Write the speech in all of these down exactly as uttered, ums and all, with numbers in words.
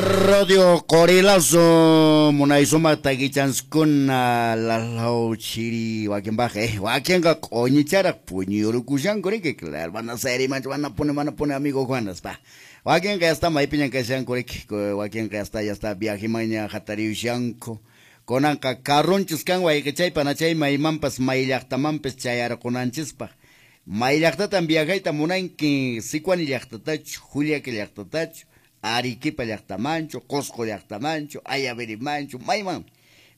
Radio Qorilazo munaysuma takichankuna lalaw chiri wakinpaq eh wakinqa q'uñicharaq puñuyurukushanku riki claro van a ser imanchu van a poner van a poner amigo Juanas pa wakinqa ya está maypiñan kashanku riki wakinqa ya está ya está viajimaña hatariyushanku kunanqa carrunchis kan wayqichaypa nachay maymanpas may llaqtamanpas chayarqunanchispaq may llaqtatan viajayta munanki Sicuani llaqtatachu Juliaca llaqtatachu Arequipa llaqtamanchu, Cusco llaqtamanchu, Ayavirimanchu, mayman.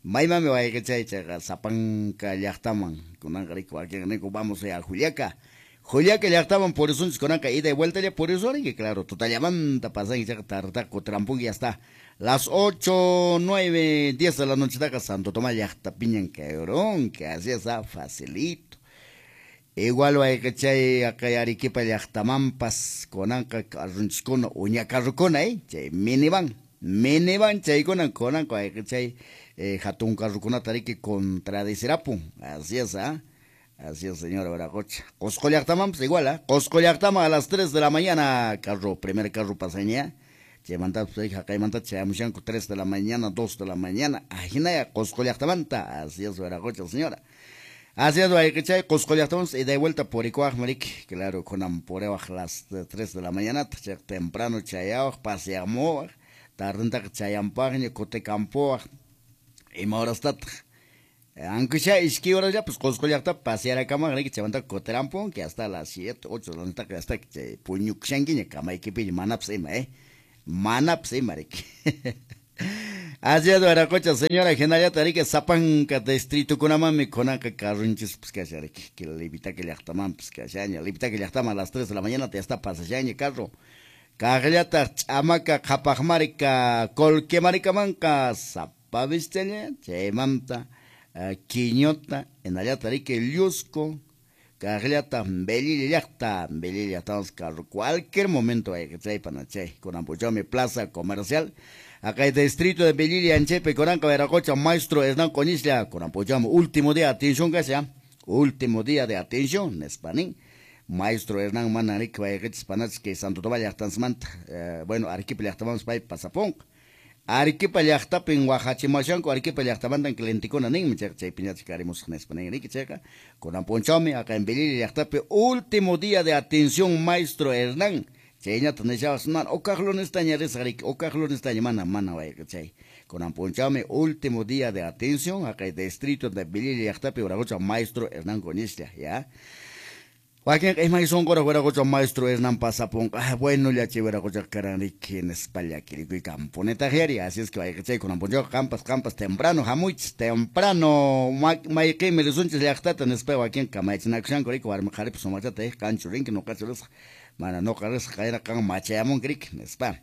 Maymanmi wayqichay chayqa sapanka llaqtaman. Kunanqa riki wakinqa ninku vamos a Juliaca. Juliaca llaqtaman purisunchis kunanqa ida y vuelta ya purisunki, claro, tutallamanta pasanki chayqa tartaqa kutirampunki ya está. Las ocho, nueve, diez de la noche taqa Santo Tomás llaqtapiñan kayurunki, así es, ah, facilito. Igual wayqichay aqay Arequipa llaqtamanpas kunanqa carrunchiskuna uña carrukuna eh chay minivan minivan chaykuna kunanqa wayqichay eh, hatun carrukunata riki contradicirapun así es ah así es señora Viracocha. Cusco llaqtamanpas igual ah Cusco llaqtaman a las tres de la mañana carro primer carro pasaña chaymantapas haqaymanta chayamushanku tres de la mañana dos de la mañana ajinaya Cusco llaqtamanta así es Viracocha señora. Así es, wayqichay, Cusco llaqtamanpas ida y vuelta purikuwaq mariki, claro, kunan puriwaq las tres de la mañana, chay temprano chayawaq, paseamuwaq, tardentaqa chayampaqña, kutikampuwaq, ima horastataq, aunque sea iskay horas pues Cusco llaqtapi pasearakamaq riki, chaymantaqa kutirampunki hasta las siete, ocho de la noche hasta chay puñukushankiña kamaykipiña, manapas ima, eh, manapas ima riki. Así es, Viracocha, señora, hinallata riki sapanka distritukunamanmi kunanqa carrunchispas kashan riki, que Livitaca llaqtamanpas kashaña, Livitaca llaqtaman a las tres de la mañana ya está pasashaña carro. Kaqllataq ch'amaka qhapaqmarika Colquemarikamanqa sapavischaña, chaymanta Quiñota, hinallata riki Llusco, kaqllataq Velilla llaqta, Velilla llaqtamanpas carro, cualquier momento wayqichay panachay, kunan p'unchawmi plaza comercial. Acá el distrito de Velilla, Anchepe, Coranca, Viracocha, maestro Hernán Coñisla, Corampochamo, último día de atención, casi, último día de atención, Espanín, maestro Hernán Manarik, Vallequeches, Panach, que Santo Tomás, Llaqtansmanta, bueno, Arequipa, Llaqtamans, Pay, Pasapón, Arequipa, Llaqtapin, Oaxachimashanco, Arequipa, Llaqtamantan, Clienticona, Nin, Chay, Piñach, Carimus, Espanín, Rique, Checa, Coramponchame, acá en Velilla, Llaqtapi, último día de atención, maestro Hernán. Chayñata nishawas mana ukaq lunestaña risaq riki ukaq lunestaña mana mana wayqichay kunan p'unchawmi último día de atención haqay distrito de Velilla llaqtapi Viracocha maestro Hernán Coñisla ya wakinqa imay sunquraq Viracocha maestro Hernán pasapunqa ah, bueno llachi Viracocha karan riki nispa llakirikuy kampunitaq yari así es que wayqichay kunan p'unchawqa qampas qampas temprano hamuychis temprano mayqinmi risunchis llaqtata nispa wakinqa kamaychinakushanku riki warmi qharipas sumaqchata eh qanchu rinki nuqachu risaq mana nuqa risaq qayra qan machayamunki riki nispa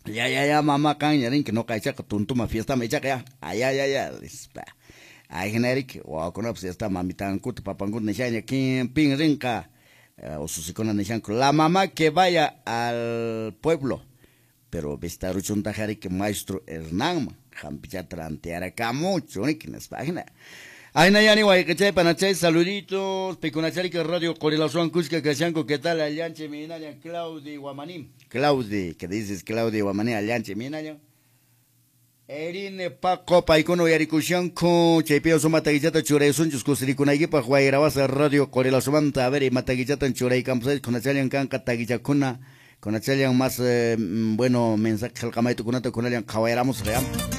ya ya ya mama qanña rinki nuqa ichaqa tuntuma fiestama ichaqa ya ay ay ay nispa ajina riki wawakunapas ya está mamitankuta papankuta nishaña kin pin rinqa ususikuna nishanku la mamá que vaya al pueblo pero vistaruchuntaqa riki maestro Hernánman hampichata rantiarakamuchu riki nispa ajina. Ayna yani wayqichay panachay saluditos pikunacharika radio Qorilazuwan kushka kashanku ¿qué tal allanche minaña Claudi Guamaní? Claudi, ¿qué dices Claudi Guamaní allanche minaña? Erine Paco paykuna uyarikushanku chaypiwan suma takichata churaysunchis kusirikunaykipaq wayrawasa radio Qorilazumanta a ver ima takichatan churaykampushaychis kunachallan kanqa takichakuna kunachallan más eh, bueno mensaje qillqamaytukunata kunallan qhawayramusaq ya.